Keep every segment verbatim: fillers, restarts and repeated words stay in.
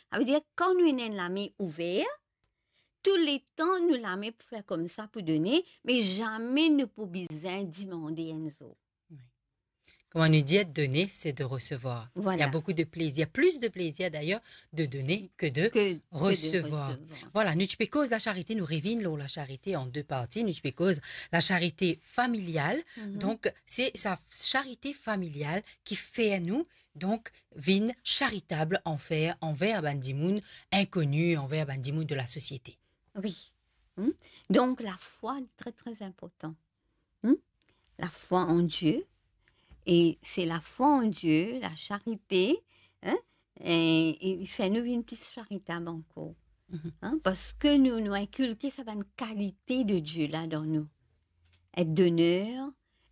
Savedir, kan nou ena enn lame ouver, touletan nou lame pou fer koumsa, pou done, me zame nou pou bizin dimande enn zour. Oui. Comme on nous dit, être donné, c'est de recevoir. Il y a beaucoup de plaisir, plus de plaisir d'ailleurs de donner que de recevoir. Voilà, nou ti pe koz lasarite, nou revinn lor lasarite an de parti, nou ti pe koz lasarite familial. Donk, se sa charite familial ki fer nou, donk, vinn charitab anver, anver bann dimoun inkoni, anver bann dimoun de lasosiete. Wi. Hmm? Donk, lafwa, tre, tre inportan. Hmm? Lafwa an Die, e se lafwa an Die, lasarite, hein, e, e li fer nou vinn pli charitab ankor. Hein, parski nou, nou inkilke sa bann kalite de Die la dan nou. Et doner,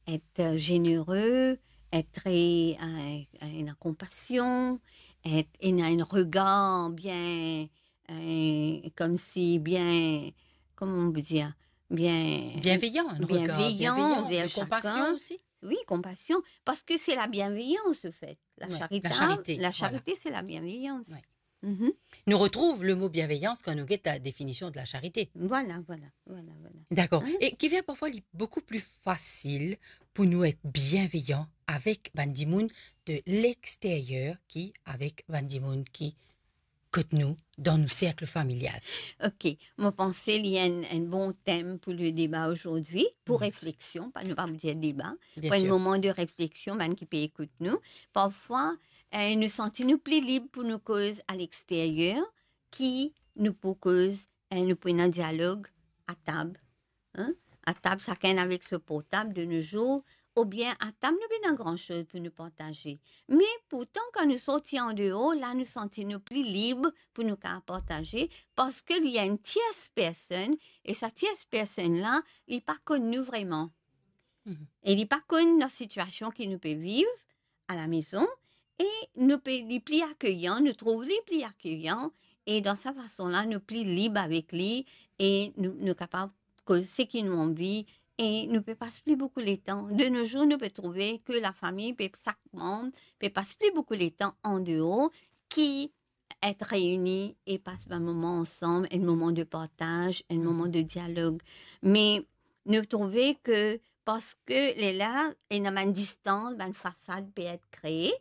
et, euh, zenere, et, euh, ena konpasion, et ena enn regar bien, euh, koumsi bien, koman on pe dir, bien bienveyan, enn regar bienveyan, bienveyan, enver sakenn. Konpasion osi. Wi, konpasion, parski se labienveyans, anfet. Wi, lasarite, lasarite, voilà. Lasarite, se labienveyans. Wi. Mhm. Nou retrouv lemo bienveyans kan nou get la definision de lasarite. Vwala, vwala, vwala, vwala. Dakor. Hein? E ki fer parfwa li boukou pli fasil pou nou et bienveyan avek bann dimoun de lexteryer ki avek bann dimoun ki kot nou, dan nou serk familial. Ok, mo panse li enn, enn bon tem pou le deba azordi, pou refleksion, pa, nou pa pou dir deba, pou enn moman de refleksion, bann ki pe ekout nou. Parfwa, eh, nou santi nou pli lib pou nou koz a lexteryer ki nou pou koz, eh, nou pou ena dialog atab. Hein? Atab, sakenn avek so portab de nos jours, oubien atab nou pena gran soz pou nou partaze. Me pourtan, kan nou sorti andeor, la nou santi nou pli lib pou nou kapav partaze, parski li enn tiers personn, e sa tiers personn la, li pa konn nou vreman. Mhm. E li pa konn lasitiasion ki nou pe viv, alamezon, e nou pe, li pli akeyan, nou trouv li pli akeyan, e dan sa fason la, nou pli lib avek li, e nou, nou kapav koz seki nou anvi, e nou pe pas pli boukou letan. De nos jours, nou pe trouve ke lafami pe, sak manb pe pas pli boukou letan andeor ki et reini e pas bann moman ansam, enn moman de partaz, enn moman de dialog. Me nou trouve ke parski lerla ena bann distans, bann fasad pe et kree,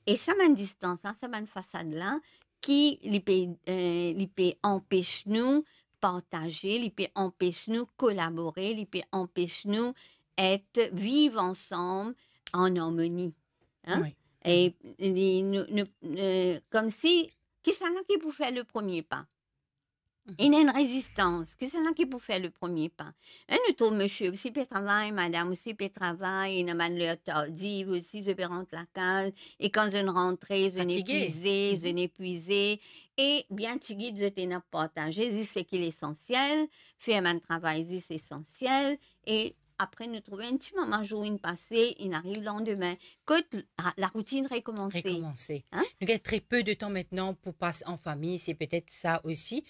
e sa bann distans la, sa bann fasad la, ki li pe, eh, li pe anpes nou partaze, li pe anpes nou kolabore, li pe anpes nou et viv ansam an armoni. Hein? Wi. E li, nou, nou, eh, koumsi, kisannla ki pou fer le premie pa? Mhm. Ena enn rezistans, kisannla ki pou fer le premie pa? Hein, nou trouv misie osi pe travay, madam osi pe travay, ena bann ler tardiv osi, zot pe rant lakaz, e kan zot rantre, zot epuize, zot epuize, e bien tigit zot ena partaze zis seki lesansiel, fer bann travay zis esansiel, e apre nou trouve enn ti moman, zour inn pase, inn ariv landime, kot la, laroutinn rekomanse. Rekomanse. Hein? Nou gagn tre pe de tan aster pou pas an fami, se petet sa osi,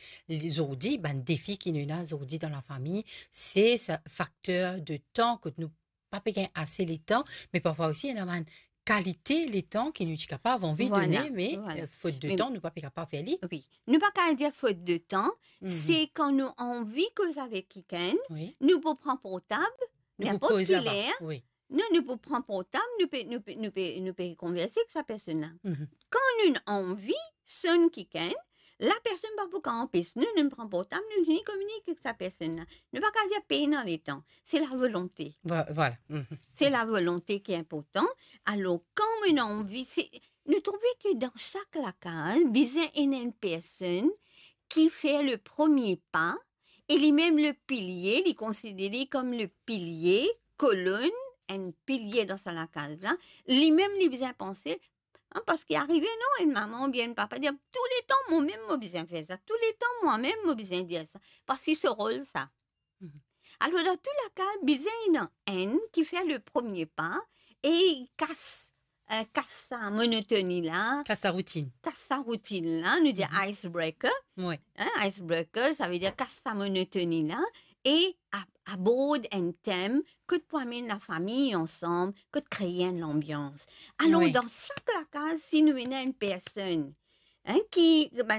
zordi, bann defi ki nou ena zordi dan lafami, se sa fakter de tan kot nou pa pe gagn ase letan, me parfwa osi ena bann kalite letan ki nou ti kapav anvi done, me, eh, fot de tan, nou pa pe kapav fer li. Wi. Nou pa kapav dir fot de tan, se kan nou anvi koz avek kikenn, nou pou pran portab, ninport ki ler. Non, nou pou pran portab, nou pe, nou pe, nou pe, nou pe konverse ek sa personn la. Mhm. Kan nou anvi sonn kikenn, lapersonn pa pou kapav anpes nou, nou pran portab, nou vini kominike ek sa personn la. Nou pa kapav dir pena letan. Se lavolonte. Vo-, vwala. Mhm. Se lavolonte ki inportan. Alor, kan nou anvi, se, nou trouve ke dan sak lakaz, bizin ena enn personn ki fer le premie pa, e limem le pilie, li konsidere li kom le pilie, kolonn, enn pilie dan sa lakaz la, limem li bizin panse, hein, parski arive, non, enn mama oubien enn papa dir, "Touletan, momem, mo bizin fer sa. Touletan, momem, mo bizin dir sa." Parski so rol sa. Mhm. Alor, dan tou laka, bizin ena enn ki fer le premie pa e kas, eh, kas sa monotoni la. Kas sa routinn. Kas sa routinn la, nou dir icebreaker. Wi. Hein, icebreaker, savedir kas sa monotoni la e a-, abord enn tem kot pou amenn lafami ansam, kot kree enn lanbians. Alor, dan sak lakaz, si nou ena enn personn, hein, ki, bann